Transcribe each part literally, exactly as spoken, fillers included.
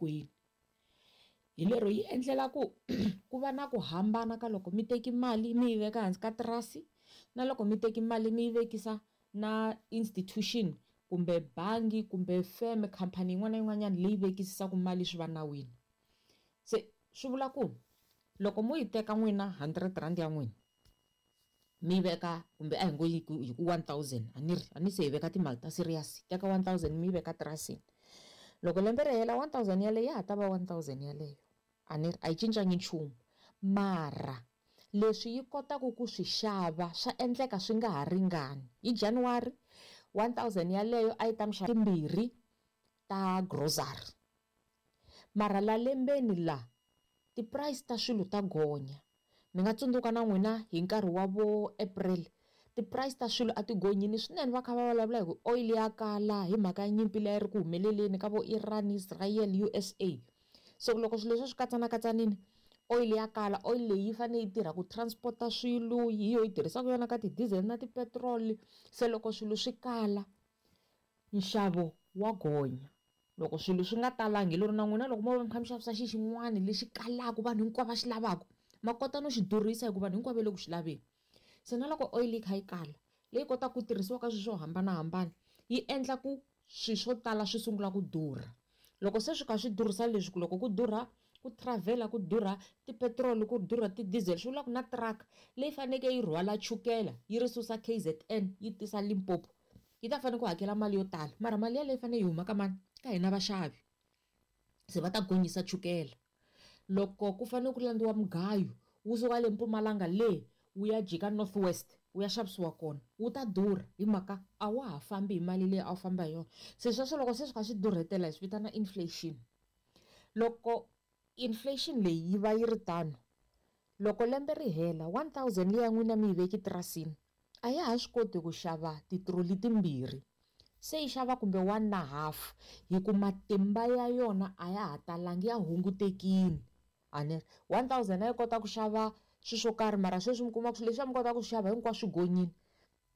tikweni. Hi lero yi endlela ku ku va na ku hambana ka loko mi teki mali mi yi veka hansi ka tirasi na loko mi teki mali mi yi vekisa na institution kumbe bangi kumbe feme khampani yin'wana na yin'wanyana leyi vekisaka mali swi va nawini. Se swi vula ku loko mo yi teka n'wina hundred rand ya n'wina mi yi veka kumbe a hi ngo yi ku hi ku one thousand a ni ri a ni se hi veka timali ta serious teka one thousand mi yi veka tirasini loko lembe ri hela one thousand yaleyo ya ha ta va one thousand yaleyo a ni ri a yi cincangi nchumu mara leswi yi kotaka ku swi xava swa endleka swi nga ha ringani hi January one thousand yaleyo a yi ta mi xava timbirhi ta grocery mara la lembeni la ti-price ta swilo ta gonya mi nga tsundzuka na n'wina hi nkarhi wa vo April ti-price ta swilo a ti gonyini swinene va kha va vulavula hi ku oil ya kala hi mhaka ya nyimpi leyi ri ku humeleleni ka vo Iran Israel U S A so loko swilo leswi swi katsanakatsanini oil ya kala oil leyi yi fanele yi tirha ku transporta swilo hi yo yi tirhisaka yona ka ti-diesel na ti-petrol se loko swilo swi kala nxavo wa gonya loko swilo swi nga talangi lero na n'wina loko mo va mi kha mi xavisa xi xin'wana lexi kalaka vanhu hinkwavo va xi lavaka ma kota no xi durhisa hikuva vanhu hinkwavo va le ku xi laveni se na loko oil yi kha yi kala leyi kotaka ku tirhisiwa ka swilo swo hambanahambana yi endla ku swilo swo tala swi sungula ku durha loko se swi kha swi durhisa leswi ku loko ku durha ku travel ku durha ti-petrol ku durha ti-diesel swi vula ku na truck leyi faneleke yi rhwala chukela yi ri susa K Z N yi tisa Limpopo yi ta fanele ku hakela mali yo tala mara mali yaleyo yi fanele yi huma ka mani ka hina vaxavi se va ta gonyisa chukela loko ku fanele ku landziwa mugayo wu suka le Mpumalanga le wu ya jika North West wu ya xavisiwa kona wu ta durha hi mhaka a wa ha fambi hi mali leyi a wu famba hi yona se sweswo loko se swi kha swi durhetela hi swi vitana inflation loko inflation leyi yi va yi ri tano loko lembe ri hela one thousand leyi ya n'wina mi yi veki tirasini a ya ha swi koti ku xava titroli timbirhi se yi xava kumbe one na half hi ku matimba ya yona a ya ha talangi ya hungutekini a ni ri one thousand a yi kota ku xava swilo swo karhi mara sweswi mi kuma ku swilo leswi a mi kota ku swi xava hinkwaswo swi gonyini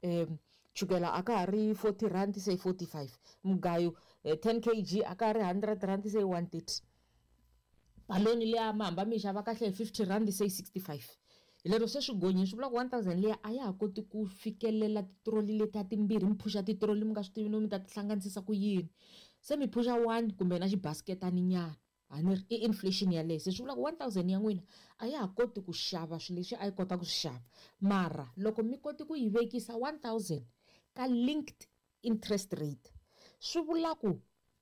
um chukela a ka ha ri forty rand se forty five mugayo ten kg a ka ha ri hundred rand se one thirty baloni leyi mi hamba mi yi xava kahle hi fifty rand se sixty five hi lero se swi gonyini swi vula ku one thousand liya a ya ha koti ku fikelela titroli letiya timbirhi mi phusha titroli mi nga swi tivi no mi ta ti hlanganisisa ku yini se mi phusha one kumbe na xibasiketani nyana a ni ri i inflation yaleyo se swi vula ku one thousand ya n'wina a ya ha koti ku xava swilo leswi a yi kota ku swi xava mara loko mi koti ku yi vekisa one thousand ka linked interest rate swi vula ku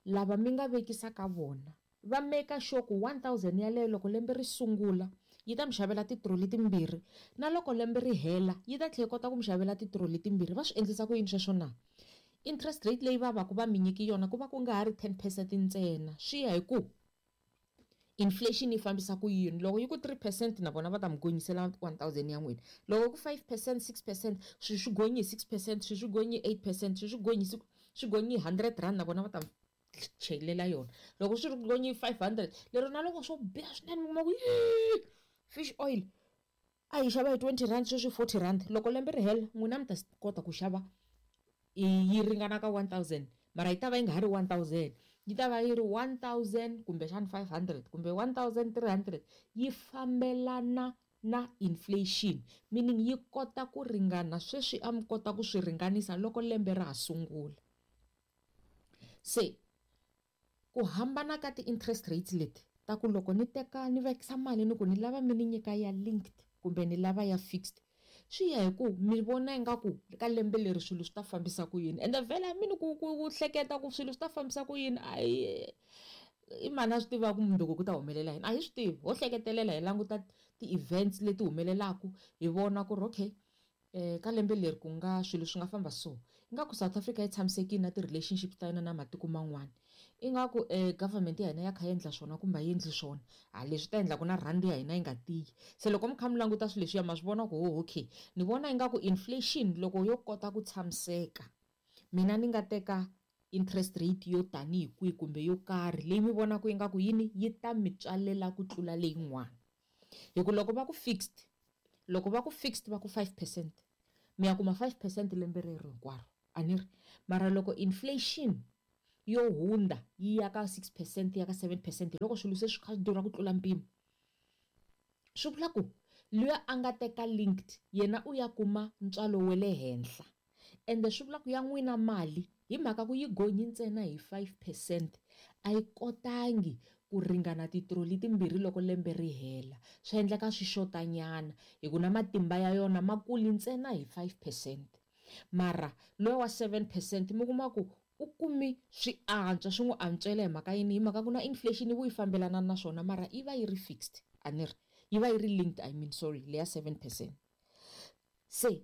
lava mi nga vekisa ka vona va make sure ku one thousand yaleyo loko lembe ri sungula yi ta mi xavela titroli timbirhi na loko lembe ri hela yi ta tlhela yi kota ku mi xavela titroli timbirhi va swi endlisa ku yini sweswo na interest rate leyi va va ku va mi nyiki yona ku va ku nga ha ri ten percent ntsena swi ya hi ku inflation yi fambisa ku yini loko yi ku three percent na vona va ta mi gonyisela one thousand ya n'wina loko ku five percent six percent swi swi gonyi six percent swi swi gonyi eight percent swi swi gonyi swi gonyi hundred rand na vona va ta chelela yona loko swi ri gonyi five hundred lero na loko swo biha swinene mi kuma ku fish oil a yi xava hi twenty rand sweswi forty rand loko lembe ri hela n'wina mi ta kota ku xava yi ringana ka one thousand mara yi ta va yi nga ha ri one thousand yi ta va yi ri one thousand kumbexana five hundred kumbe one thousand three hundred yi fambelana na inflation meaning yi kota ku ringana sweswi a mi kota ku swi ringanisa loko lembe ra ha sungula se ku hambana ka ti-interest rates leti ta ku loko ni teka ni vekisa mali ni ku ni lava mi ni nyika ya linked kumbe ni lava ya fixed swi ya hi ku mi vona ingaku ka lembe leri swilo swi ta fambisa ku yini ende vhele mi ni ku ku hleketa ku swilo swi ta fambisa ku yini a hi i mani a swi tivaka mundzuku ku ta humelela yini a hi swi tivi ho hleketelela hi languta ti-events leti humelelaka hi vona ku ri okay eh ka lembe leri ku nga swilo swi nga famba so ingaku South Africa yi tshamisekile na ti-relationship ta yona na matiko man'wana ingaku eh government ya hina ya kha yi endla swona kumbe a yi endli swona ha leswi ta endla ku na rhandi ya hina yi nga tiyi se loko mi kha mi languta swilo leswiya ma swi vona ku ho okay ni vona ingaku inflation loko yo kota ku tshamiseka mina ni nga teka interest rate yo tanihi kwihi kumbe yo karhi leyi mi vonaka ingaku yini yi ta mi tswalela ku tlula leyin'wana hi ku loko va ku fixed loko va ku fixed va ku five percent mi ya kuma five percent lembe rero hinkwaro a ni ri mara loko inflation yo hundza yi ya ka six percent ya ka seven percent loko swilo se swi kha swi durha ku tlula mpimo. Swi vula ku luya a nga teka linked yena u ya kuma ntswalo wa le henhla, ende swi vula ku ya n'wina mali hi mhaka ku yi gonyi ntsena hi five percent a yi kotangi ku ringana titroli timbirhi loko lembe ri hela. Swi endleka swi xotanyana hi ku na matimba ya yona ma kuli ntsena hi five percent. Mara loyi wa seven percent mi kuma ku u kumi swi antswa, swi n'wi antswela hi mhaka yini? Hi mhaka ku na inflation yi vu yi fambelana na swona, mara yi va yi ri fixed, a ni ri yi va yi ri linked, I mean sorry, leya seven percent. Se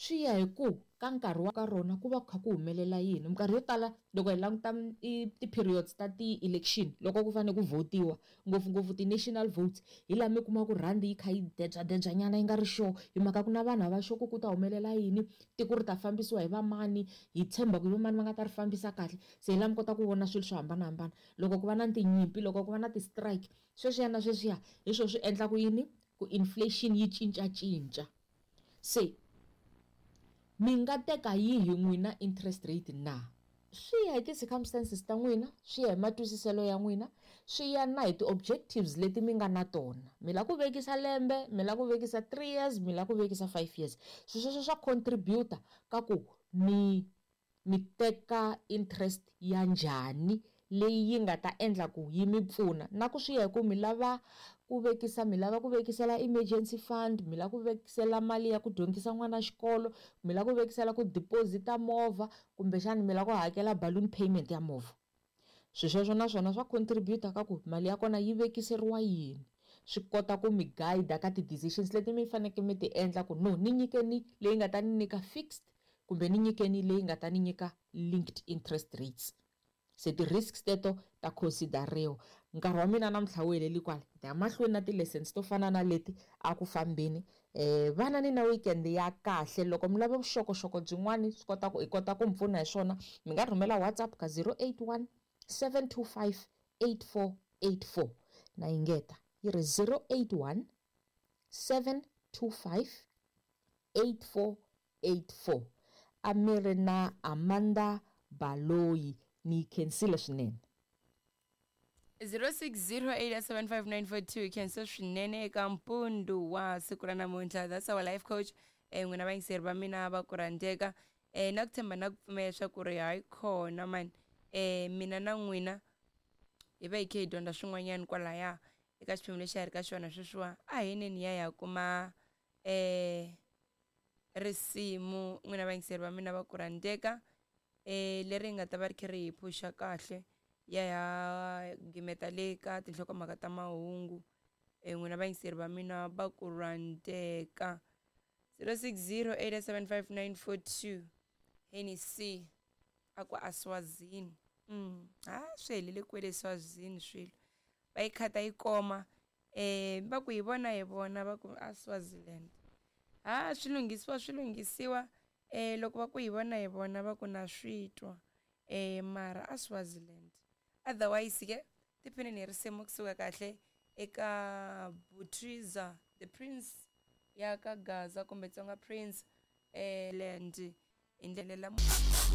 swi ya hi ku ka nkarhi wa ka rona ku va ku kha ku humelela yini. Minkarhi yo tala loko hi languta ti-periods ta ti-election loko ku fanele ku votiwa ngopfungopfu ti-national votes, hi laha mi kuma ku rhandi yi kha yi debyadebya nyana yi nga ri sure, hi mhaka ku na vanhu a va sure ku ku ta humelela yini, tiko ri ta fambisiwa hi vamani, hi tshemba ku hi vamani va nga ta ri fambisa kahle. Se hi laha mi kota ku vona swilo swo hambanahambana loko ku va na tinyimpi, loko ku va na ti-strike, sweswiya na sweswiya hi swona swi endlaku yini ku inflation yi cincacinca. Se mi nga teka yihi n'wina interest rate na? Swi ya hi ti-circumstances ta n'wina, swi ya hi matwisiselo ya n'wina, swi ya na hi ti-objectives leti mi nga na tona. Mi lava ku vekisa lembe, mi lava ku vekisa three years, mi lava ku vekisa five years. Swilo sweswo swa contribute ka ku mi mi teka interest ya njhani leyi yi nga ta endla ku yi mi pfuna. Na ku swi ya hi ku mi lava ku vekisa, mi lava ku vekisela emergency fund, mi lava ku vekisela mali ya ku dyondzisa n'wana xikolo, mi lava ku vekisela ku deposit-a movha, kumbexana mi lava ku hakela balloon payment ya movha. Swilo sweswo na swona swa contribute ka ku mali ya kona yi vekiseriwa yini. Swi kota ku mi guide ka ti-decisions leti mi fanekele mi ti endla ku no ni nyikeni leyi nga ta ni nyika fixed kumbe ni nyikeni leyi nga ta ni nyika linked interest rates. Se ti-risks teto ta consideriwa. Nkarhi wa mina namuntlha wu heleli kwala, hi ta ya mahlweni na ti-lessons to fana na leti a ku fambeni. Eh vana ni na weekend ya kahle. Loko mi lava vuxokoxoko byin'wani swi kota ku hi kota ku mi pfuna hi swona, mi nga rhumela WhatsApp ka zero eight one seven two five eight four eight four. Na yingeta yi ri zero eight one seven two five eight four eight four. A mi ri na Amanda Baloyi. Ni khensile swinene. zero six zero eight seven five nine four two khensa swinene eka mpundu wa siku ra namuntlha. That's our life coach. Eh n'wina vayingiseri va mina va ku rhandzeka, eh na ku tshemba na ku pfumela leswaku ri hayi khona mani, eh mina na n'wina hi va hi kha hi dyondza swin'wanyana kwalaya eka xiphemu lexi a hi ri ka xona sweswiwa. A hi neni ya ya kuma eh risimu n'wina vayingiseri va mina va ku rhandzeka, eh leri nga ta va ri kha ri hi phuxa kahle ya ya gimeta le ka tinhlokomhaka ta mahungu. Eh n'wina vayingiseri va mina va ku rhandzeka. Zero six zero eight seven five nine four two Hennessy a ku Aswazini. Mm ha swi helele kwele Swazini swilo va yi khata yi koma, eh va ku hi vona hi vona va ku a Swaziland. Ha swi lunghisiwa swi lunghisiwa, eh loko va ku hi vona hi vona va ku na swi twa, eh mara a Swaziland. Otherwise ke tiphinini hi risimu kusuka kahle eka Butriza the Prince ya ka Gaza kumbe Tsonga Prince eh land indlela la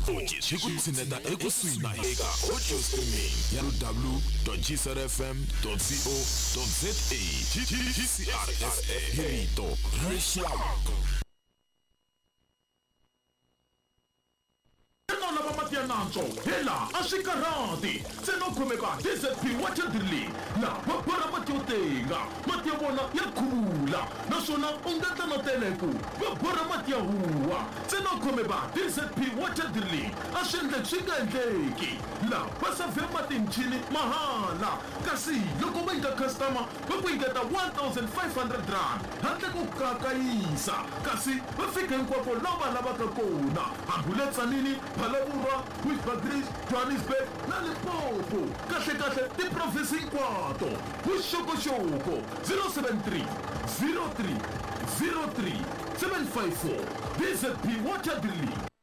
hi ku tshineta ekusuhi na eka audio streaming ya w w dot g c r f m dot co dot z a. G C R F M hi rito ra rixaka. Lava mati ya nantswo hela a swi karhati ntsena u khomeka D Z P Water Drilling laha va borha mati yo tenga, mati ya vona ya khuvula naswona u nga endla na teleku va borha mati ya huwa. Ntsena u khomeka D Z P Water Drilling a swi endleki swi nga endleki laha va savhe mati michini mahala, kasi loko va nyika customer va ku nyiketa one thousand five hundred rand handle ko kakayisa, kasi va fika hinkwako laha va lavaka kona hambi le Tzaneen, Phalaborwa, Bushbuckridge, Johannesburg na Limpopo. Kahle kahle tiprovinsi hinkwato. Vuxokoxoko zero seven three zero three zero three seven five four. D Z P Water Drilling.